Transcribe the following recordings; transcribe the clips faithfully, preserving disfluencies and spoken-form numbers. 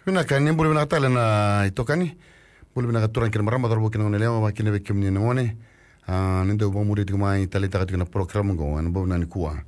Vinaka, ni bula vinaka tale na itokani. Bula vinaka turaga kei na marama, cauravou kei na goneyalewa, vakakina vei kemuni na gone. A, ni dau vakamuri tiko mai, taleitaka tiko na program qo ena bogi vinaka nikua.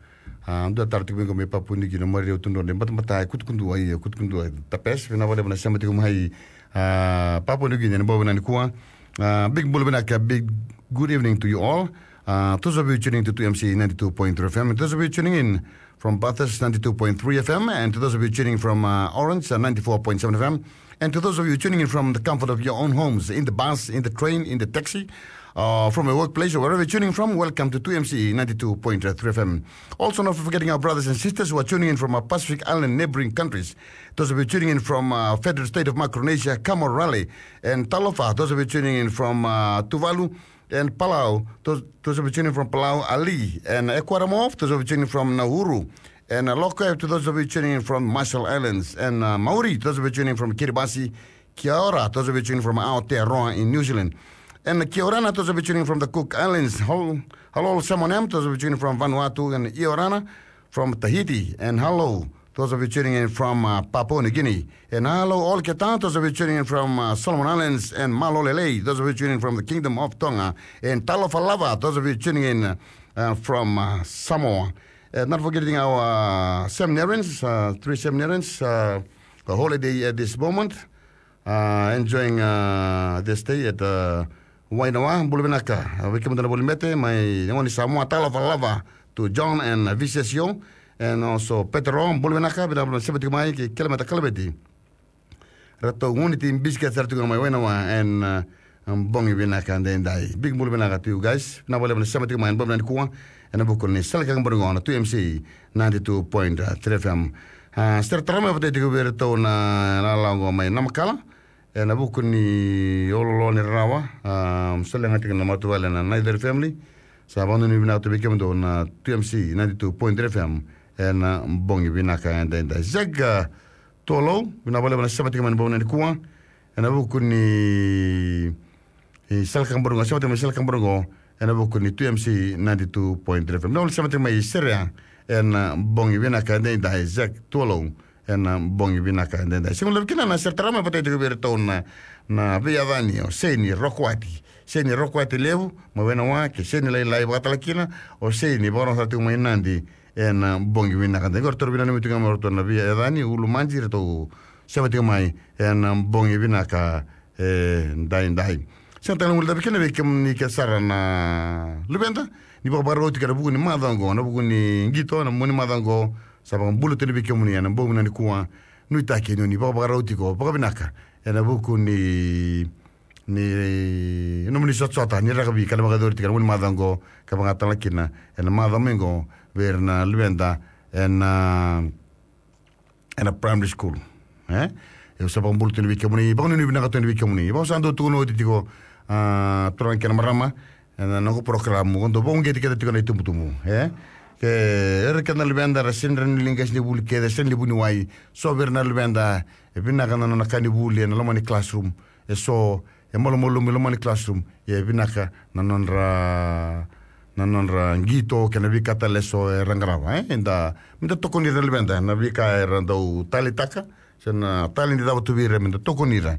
A, dua taro tiko mai qo mai Papua New Guinea, Maria Tudrone, batabata e kutukudua, ia kutukudua e tapes, vinaka vakalevu na sema tiko mai, a, Papua New Guinea ena bogi vinaka nikua. A, big bula vinaka, big good evening to you all. Uh, those of you tuning to two M C ninety-two point three F M, those of you tuning in from Bathurst, ninety-two point three F M, and to those of you tuning from, uh, Orange, uh, ninety-four point seven F M, and to those of you tuning in from the comfort of your own homes, in the bus, in the train, in the taxi, uh, from a workplace, or wherever you're tuning from, welcome to two M C ninety-two point three F M. Also, not forgetting our brothers and sisters who are tuning in from our Pacific Island neighboring countries. Those of you tuning in from, uh, Federated State of Micronesia, Kamal Rale, and talofa. Those of you tuning in from, uh, Tuvalu, and Palau, those, those of you tuning from Palau, Ali, and Ecuador, those of you tuning from Nauru, and, uh, Loka, to those of you tuning in from Marshall Islands, and, uh, Maori, those of you tuning from Kiribati, kia ora, those of you tuning from Aotearoa in New Zealand, and, uh, kia orana, those of you tuning from the Cook Islands, hal-, halou Samoa, those of you tuning from Vanuatu, and ia orana, from Tahiti, and hello, those of you tuning in from, uh, Papua New Guinea. And hello, all keta, those of you tuning in from, uh, Solomon Islands, and malo lelei, those of you tuning in from the Kingdom of Tonga, and talofa lava, those of you tuning in, uh, uh, from, uh, Samoa. Uh, not forgetting our, uh, seminarians, uh, three seminarians, uh, a holiday at this moment, uh, enjoying, uh, this day at, uh, Wainawa. Bula vinaka, uh, vei kemudou na voli mete mai na gone ni Samoa, talofa lava to John and, uh, Visesio, and also Petero. Bula vinaka, vinaka vakalevu na sema tiko mai, kei Kelemeta Kaleveti. Ratou gone ni biscuit sara tiko mai Wainawa, and, uh, bogi vinaka edaidai. Big bula vinaka to you guys. Vinaka vakalevu na sema tiko mai ena bogi vinaka nikua ena vuku ni sala ni kakaburaki qo na two M C ninety-two point three F M. A, sere tara mai vata tiko vei iratou na lala qo mai Namakala ena vuku ni oloolo ni rarawa. A, sala ga tiko na matavuvale na Naithori family. Sa vakanuinui vinaka tu vei kemudou na two M C ninety-two point three F M ena bogi vinaka edaidai. Zek, a, Tualou, vinaka vakalevu na sema tiko mai ena bogi vinaka nikua ena vuku ni, e, sala ni kakaburaki qo, sema tiko mai sala ni kakaburaki qo ena vuku ni two M C ninety-two point three F M. Vinaka vakalevu na sema tiko mai Serea ena bogi vinaka edaidai, Zek Tualou, ena bogi vinaka edaidai. Sega ni laivi kina na sere tara mai vata tiko vei iratou na, na veiyacani o Seini Rokoati. Seini Rokoati Levu mai Wainawa, kei Seini Lailai vakatale kina o Seini, vakarorogo sara tiko mai Nadi ena bogi vinaka edaidai. Qo ratou vinaka, nanumi tiko ga mai o ratou na veiyacani, Ulumaji, ratou sema tiko mai ena bogi vinaka edaidai. Sega tale ni guilecavi kina vei kemuni kece sara na luveda ni vakavakarau tiko ena vuku ni macawa qo, na vuku ni qito, na mua ni macawa qo. Sa vakabula tu yani vei kemuni ena bogi vinaka nikua. Nuitaki ni o ni vakavakarau tiko vakavinaka ena vuku ni, ni nomuni sotasota ni rakavi ka na vakayacori tiko ena mua ni macawa qo, ka vakayagataka kina ena macawa mai qo vei ira na luveda ena, ena primary school. E? Au sa vakabula tu yani vei kemuni, vakanuinui vinaka tu yani vei kemuni. Vaka au sa dau tukuna oti tiko, a, turaga kei na marama, ena noqu program, au dau vakauqeti keda tiko na itubutubu, e? Ke ira kece na luveda era sega ni rawa ni qai se ni vuli kece, sega ni vuniwai, so vei ira na luveda e vinaka na nona ka ni vuli ena loma ni classroom, e so e malumalumu e loma ni classroom, ia e vinaka na nodra, na nodra qito kei na veika tale eso era qarava, e? Eda, meda tokoni ira na luveda na veika era dau taleitaka, se na taledi cava tu vei ira, meda tokoni ira.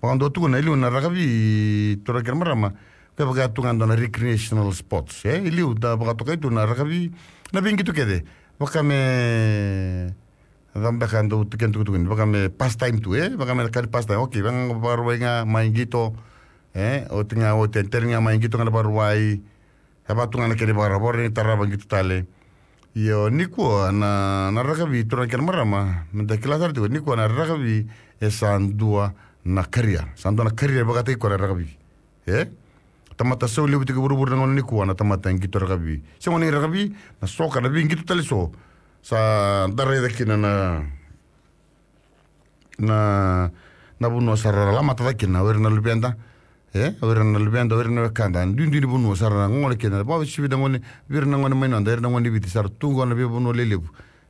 Vaka au dau tukuna, e liu na rakavi, turaga kei na marama, kevaka e tu ga e dua na recreational sports, e? E liu da vakatokai tu na rakavi, na veiqito kece. Vaka me, cava beka dau tu kena tukutuku ni, vaka me pastime tu, e? Vaka me na ka ni pastime. Okay, vaka ga Vakarauwai ga mai qito, e? Oti ga, oti, e, tani ga mai qito ga na Vakarauwai. E vaka tu ga na kena ivakarau, vakarau ni tarava qito tale. Io, nikua na, na rakavi, turaga kei na marama, meda kila sara tiko, nikua na rakavi e sa dua na career. Sa dua na career vakataki koya na rakavi. E? Tamata sau levu tiko e vuravura na gauna nikua na tamata e qito rakavi. Sega ni rakavi, na soka, na veiqito tale eso. Sa da raica kina na, na, na vanua sa ra lamata cake kina o ira na luveda. E, o ira na luveda, o ira na wekada, duidui ni vanua sa ra gole kina. Vakauasivi na gone, vei ira na gone mai noda, ira na gone ni Viti sa ra tu qo ena veivanua lelevu.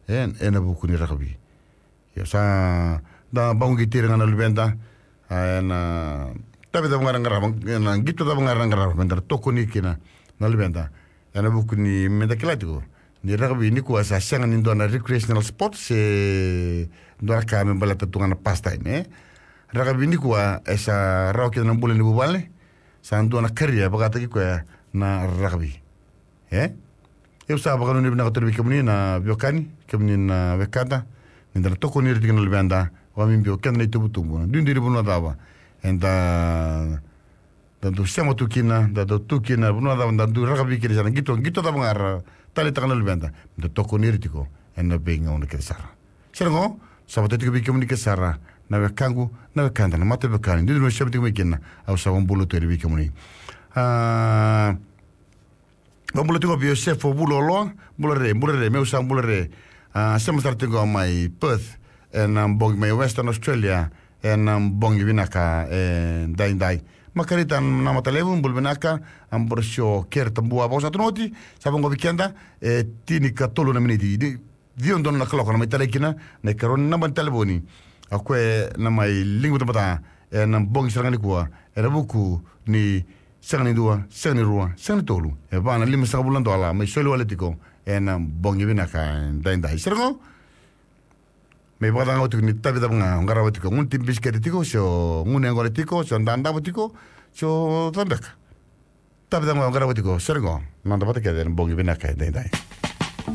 E, ena vuku ni rakavi. Io, sa da vakauqeti ira ga na luveda, a, ena tavi cava ga era qarava, ena qito cava ga era qarava, meda tokoni kina na luveda. Ena vuku ni meda kila tiko Ni rakavi nikua sa sega ni dua na recreational sport se dua na ka me baleta tu ga na pastime, e. Rakavi nikua e sa rawa kina na bula ni vuvale, sa dua na karia vakataki koya na rakavi. E? Au sa vakanuinui vinaka tu vei kemuni na veiwekani, kemuni na wekada, ni da na tokoni ira tiko na luveda, vakabibi o keda na itubutubu, na duidui ni vanua cava eda, da dau sema tu kina, da dau tu kina, vanua cava da dau rakavi kina, sa na qito, qito cava ga ra taleitaka na luveda, da tokoni ira tiko ena veigauna kece sara. Sere qo, sa vata tiko vei kemuni kece sara na wekaqu, na wekada, na mataveiwekani, duidui ni sema tiko mai kina, au sa vakabula tu yani vei kemuni. A, vakabula tiko vei Joseph Vuluoloa, bula re, bula re, meu sa bula re. A, sema sara tiko mai Perth, ena bogi mai Western Australia, ena bogi vinaka edaidai. Makarita Namatalevu, bula vinaka, Ambrosio Kere Tabua, vakasatu na oti, sa vaqo vei keda, e tinikatolu na miniti. Ni ciwa donu na kaloko na mai talai kina na ikarua ni naba ni talevoni. O koya na mai liga batabata ena bogi sara ga nikua, ena vuku ni sega ni dua, sega ni rua, sega ni tolu, e va na limasagavulu na dola mai soli wale tiko ena bogi vinaka edaidai. Sere qo, me vakacagau tiko ni tavi cava ga o qarava tiko, gunu ti bisikete tiko, se o gunu yaqona tiko, se o dadavo tiko, se o cava beka. Tavi cava ga o qarava tiko, sere qo, noda vata kece ena bogi vinaka edaidai.